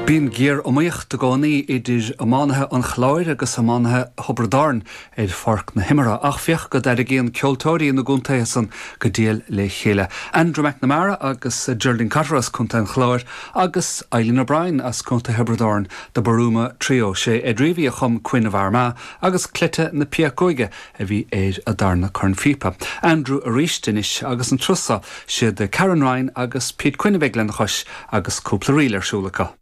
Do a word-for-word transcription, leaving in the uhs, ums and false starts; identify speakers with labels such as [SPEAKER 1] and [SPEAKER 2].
[SPEAKER 1] Bíonn géar-iomaíocht i gcónaí idir iománaithe an Chláir agus iománaithe Thiobraid Árann ar pháirc na himeartha ach féach go dtarraingíonn ceoltóirí na gcontaetha san go diail le chéile. Andrew McNamara agus Geraldine Cotter as Contae an Chláir agus Eileen O'Brien as Contae Thiobraid Árann The Boruma Trio sé Ed Reavy a chum Queen of Armagh agus Cleite na Péacóige a bhí ar a darna cornphíopa. Andrew arís anois agus an turas seo siad Karen Ryan agus Pete Quinn a bheidh lena chois agus cúpla ríl ar siúl acu.